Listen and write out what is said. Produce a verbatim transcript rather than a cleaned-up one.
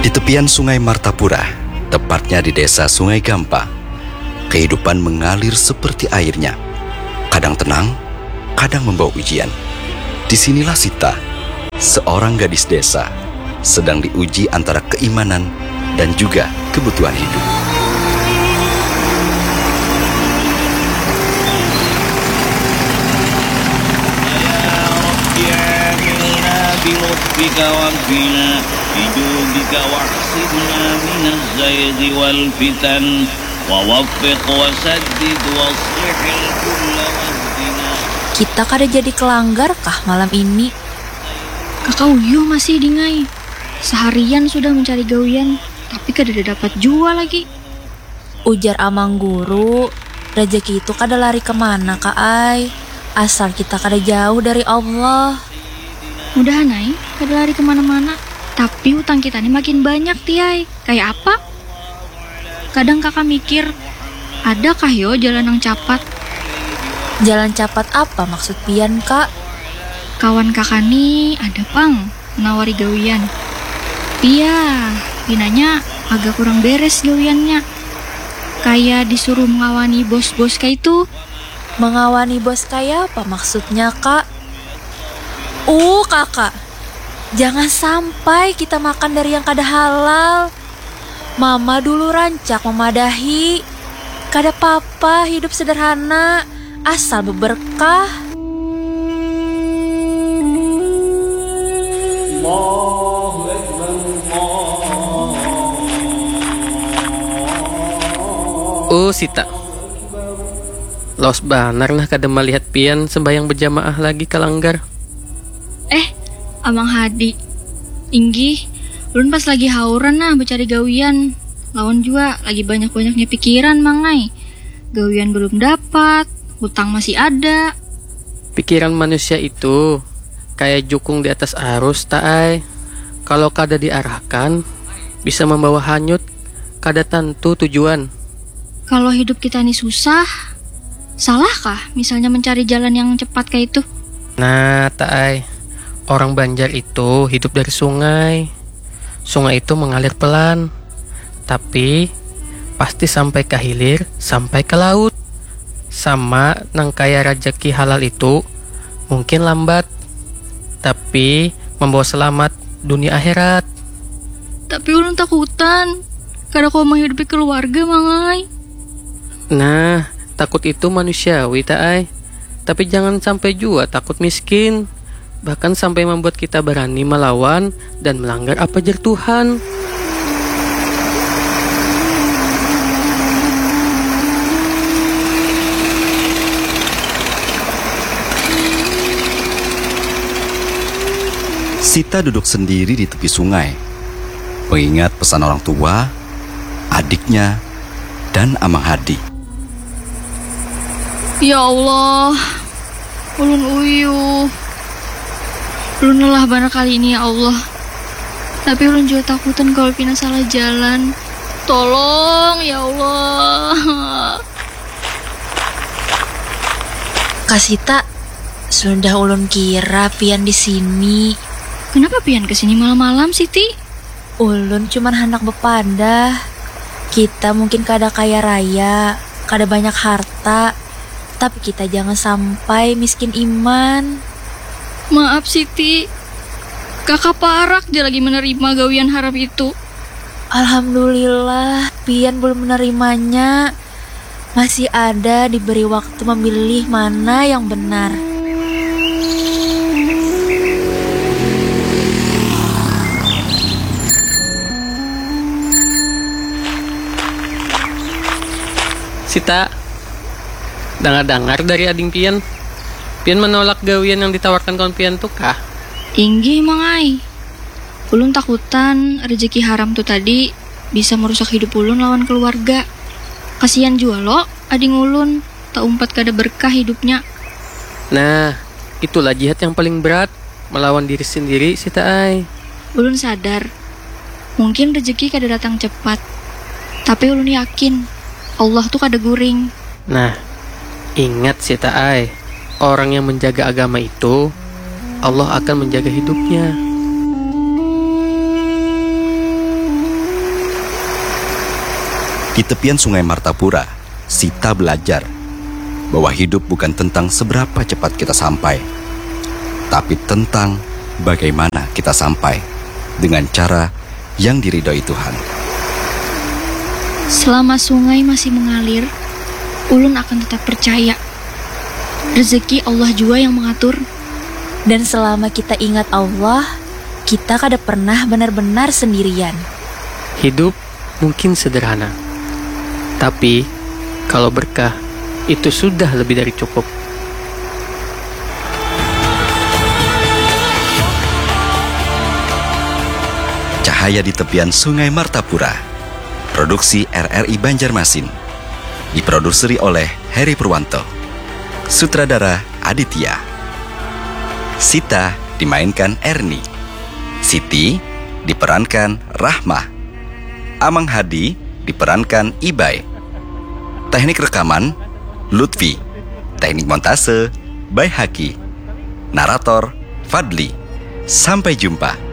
Di tepian Sungai Martapura, tepatnya di Desa Sungai Gampa, kehidupan mengalir seperti airnya. Kadang tenang, kadang membawa ujian. Disinilah Sita, seorang gadis desa, sedang diuji antara keimanan dan juga kebutuhan hidup. Kita kada jadi kelanggar kah malam ini? Kaka uyuh masih dingai. Seharian sudah mencari gawian, tapi kadada dapat jua lagi. Ujar amang guru, rejeki itu kada lari kemana ka ai, asal kita kada jauh dari Allah. Mudahan ai kada lari kemana-mana, tapi utang kita ni makin banyak tiai. Kaya apa? Kadang kaka mikir, adakah yo jalan nang capat? Jalan capat apa maksud pian, Kak? Kawan kaka ni ada pang menawari gawian. Iya, pinanya agak kurang beres gawiannya. Kaya disuruh mengawani bos-bos kaitu. Mengawani bos kaya apa maksudnya, Kak? Uh, Kakak, jangan sampai kita makan dari yang kada halal. Mama dulu rancak memadahi, kada papa hidup sederhana, asal beberkah. Oh Sita, lawas banar nah kada malihat pian sembahyang bejamaah lagi ka langgar. Eh, Amang Hadi. Inggih, ulun pas lagi hauran nah becari gawian. Lawan jua lagi banyak-banyaknya pikiran, Mang ai. Gawian belum dapat, hutang masih ada. Pikiran manusia itu kaya jukung di atas arus, Taai. Kalau kada diarahkan, bisa membawa hanyut, kada tantu tujuan. Kalau hidup kita ni susah, salahkah misalnya mencari jalan yang cepat kaitu? Nah, Taai, orang Banjar itu hidup dari sungai. Sungai itu mengalir pelan, tapi pasti sampai ka hilir, sampai ka laut. Sama nang kaya rajaki halal itu, mungkin lambat, tapi membawa selamat dunia akhirat. Tapi ulun takutan, kada kawa menghidupi keluarga, Mang ai. Nah, takut itu manusiawi, Taai. Tapi jangan sampai jua takut miskin. Bahkan sampai membuat kita barani malawan dan melanggar apa jar Tuhan. Sita duduk sendiri di tepi sungai, mengingat pesan orang tua, adiknya, dan Amang Hadi. Ya Allah, ulun uyuh. Ulun lelah banar kali ini, ya Allah. Tapi ulun jua takutan kalau pina salah jalan. Tolong, ya Allah. Kasita, sudah ulun kira pian di sini. Kenapa pian ke sini malam-malam, Siti? Ulun cuman handak bepadah. Kita mungkin kada kaya raya, kada banyak harta, tapi kita jangan sampai miskin iman. Maaf Siti, kakak parak ja lagi menerima gawian haram itu. Alhamdulillah, pian belum menerimanya. Masih ada diberi waktu memilih mana yang benar. Sita, dangar-dangar dari ading pian, pian menolak gawian yang ditawarkan kawan pian tu kah? Inggih, Mang ai. Ulun takutan rejeki haram tu tadi bisa merusak hidup ulun lawan keluarga. Kasian jua lo ading ulun, taumpat kada berkah hidupnya. Nah, itulah jihad yang paling berat, melawan diri sendiri, Sita ai. Ulun sadar, mungkin rejeki kada datang cepat, tapi ulun yakin Allah tu kada guring. Nah, ingat Sita ai, orang yang menjaga agama itu, Allah akan menjaga hidupnya. Di tepian Sungai Martapura, Sita belajar bahwa hidup bukan tentang seberapa cepat kita sampai, tapi tentang bagaimana kita sampai dengan cara yang diridhoi Tuhan. Selama sungai masih mengalir, ulun akan tetap percaya. Rezeki Allah jua yang mengatur. Dan selama kita ingat Allah, kita kada pernah benar-benar sendirian. Hidup mungkin sederhana, tapi kalau berkah, itu sudah lebih dari cukup. Cahaya di tepian Sungai Martapura. Produksi R R I Banjarmasin. Diproduseri oleh Heri Purwanto. Sutradara Aditya. Sita dimainkan Erni. Siti diperankan Rahma. Amang Hadi diperankan Ibai. Teknik rekaman Lutfi. Teknik montase Baihaki. Narator Fadli. Sampai jumpa.